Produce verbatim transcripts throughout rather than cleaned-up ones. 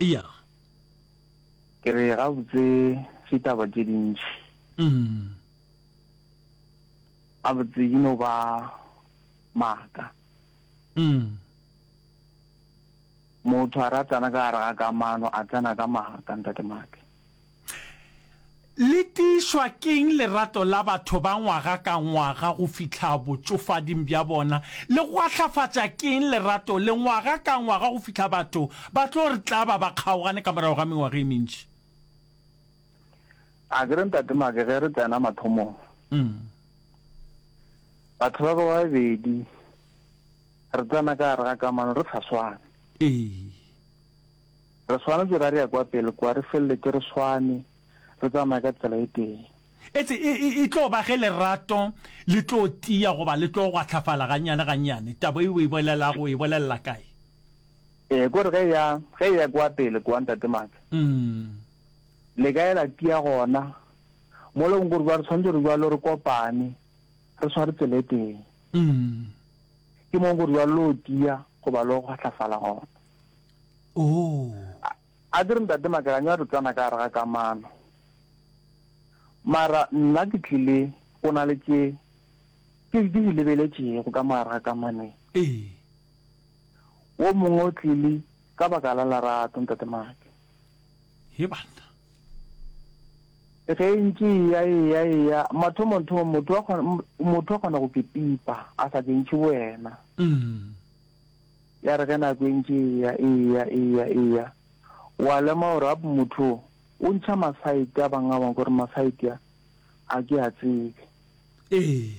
Ya. Ke re gabotse ditaba tše dintši. Mm. Gabotse di no ba maaka. Mm. Motho a ra tsena ka gare ga kamano a tsena ka maaka ntate Make. Le tiišwa ke'ng lerato la batho ba ngwaga ka ngwaga go fihla botšofading bja bona? Le gwahlafatša ke'ng lerato le ngwaga ka ngwaga go fihla batho ba tlo re tlaba ba kgaogane ka morago ga mengwaga e mentši? A ke re Ntate Make ge re tsena mathomong, batho ba ba babedi re tsena ka gare ga kamano re sa swane. Ee. Re swanetše ra re ya kwa pele kwa re feleletše re swane. Re tsamaye ka tsela e tee. Etse e, e, e tlo ba ge lerato le tlo tia goba le tlo gwahlafala gannyane gannyane. Taba e o e bolelago o e bolelela kae? Ee, kore ge e ya, ge e ya kwa pele kwa, Ntate Maake, le kae la tia gona, mo leng gore bjale re swanetše gore bjalo re kopane, re sware tsela e tee. Ke mo gore bjalo lo tia goba lo gwahlafala gona. Oh. A ke re Ntate Makelanyo a re tsena ka gare ga kamano. Mara nna ke tlile go na le tše ke di lebeletšego ka mo gare ga kamano ye. Ee. Wo mongwe o tlile ka baka la lerato, Ntate Make. He banna. Ge e ntše e eya, e eya, e eya, mathomong-thomong motho wa kgona, motho wa kgona go ke pipa a sa ke ntšhe boyena. Mm. Ya re ge nako e ntše e eya, e eya, e eya, e eya, wa lemoga gore gape motho o, o ntšha masaete a bangwe a bangwe, gore masaete a, a ke a tsebe. Ee.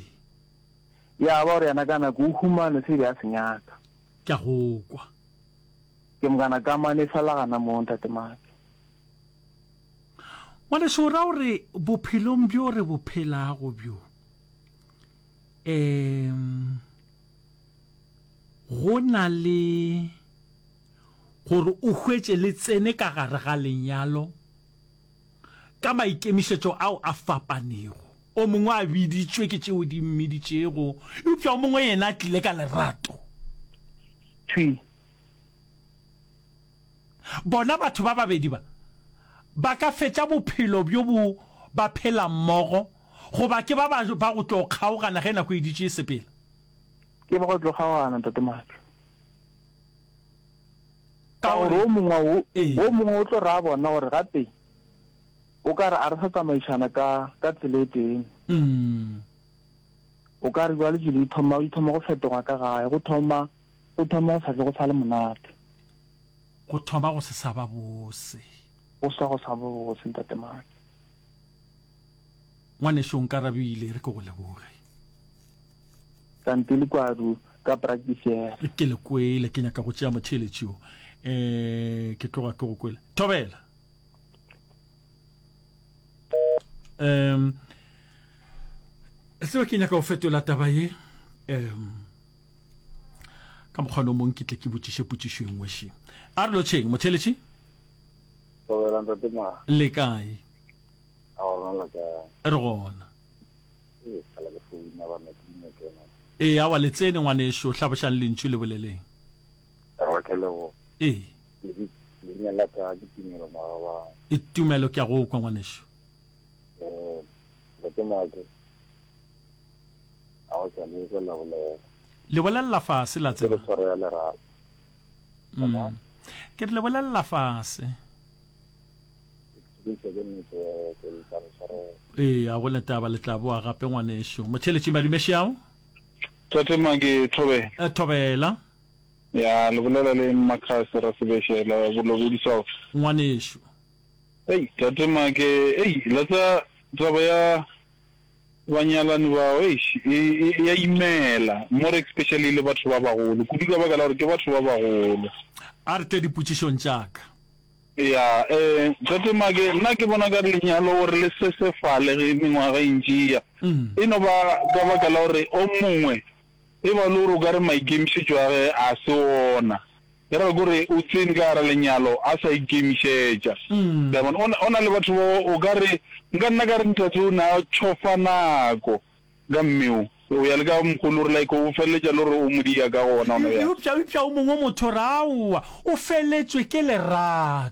Ya ba gore yena ka nako o humane se be a se nyaka. Ke a go kwa. Ke mokana kamano e fela gana moo, Ntate Make. Ngwanešu, o ra gore bophelong bjo re bo phelago bjo, um Go na le gore o hwetše le tsene ka gare ga lenyalo ka maikemišetšo ao a fapanego. O mongwe a biditšwe ke tšeo di mmiditšego, eupša o mongwe yena a tlile ka lerato. Thwi. Bona batho ba babedi ba ba ka fetša bophelo bjo bo ba phela mmogo, goba ke ba ba ba go tlo kgaogana ge nako e dutše e sepela. Ke ba go tlo kgaogana, Ntate Matlo. Ka gore o mongwe o, o mongwe o tlo re a bona gore gape o ka re a re sa tsamaišana ka, ka tsela e tee. O ka re bjale dilo di thoma, di thoma go fetoga ka gae, go thoma, go thoma go sa tle go sa le monate. Go thoma go se sa ba bose. Go sa go sa ba bose, Ntate Matlo. Ngwanešu o nkarabile, re ke go leboge. Kante le kwadu ka practice yela. Ke le kwele, ke nyaka go tšea motheeletši yo. Eh, ke tloga ke go kwele. Thobela. Um, tseba ke nyaka go fetola taba ye. Um, ka mokgwa no mong ke tle ke botšiše potšišo e nngwe še. A re lotšheng, motheeletši. Thobela ntate Ma. Le kae? A gona la kae? Re gona. Ee, kgale ke founa banna ke dino kena. Ee, aowa le tsene ngwanešu, hlabošang lentšu le boleleng. Aowa ke leboga. Ee. Leina la ka ke Tumelo Magabane. E, Tumelo ke a go kwa ngwanešu. Ee, Ntate Make, aowa ke a le kwa la bolela. Le bolelela fase la tseba. Ke re tshwaro ya lerato. Mm. Ke re le bolelela fase. Ee, a go ne taba, le tla boa gape ngwanešu. Motheeletši Madumešeao. Tate Make, Thobela. Eh, Thobela. Ya, le bolela le Mmakhase Rasebešela, Bolobedi South. Ngwanešu. Ei, Tate Make, ei, la tsa taba ya banyalani bao, eish, e, e, e ya imela, more especially le batho ba bagolo, kudu ka baka la gore ke batho ba bagolo. A re tle dipotšišong tša ka. Ya, eh, Tate Make, nna ke bona ka lenyalo gore le sesefale ge mengwaga e ntše e ya. E no ba ka baka la gore o mongwe e ba le gore o ka re maikemišetšo a ge a se ona. E ra gore o tsene ka gara lenyalo a sa ikemišetša. Le a bona? O na, o na le batho bao o ka re, nka nna ka re ntate o ne a tšhofa nako ka mme o. O ya le ka mokgo le gore like o feleletša le gore o mo dia ka gona gona bjale. Eupša, eupša o mongwe motho re aowa, o feletšwe ke lerato.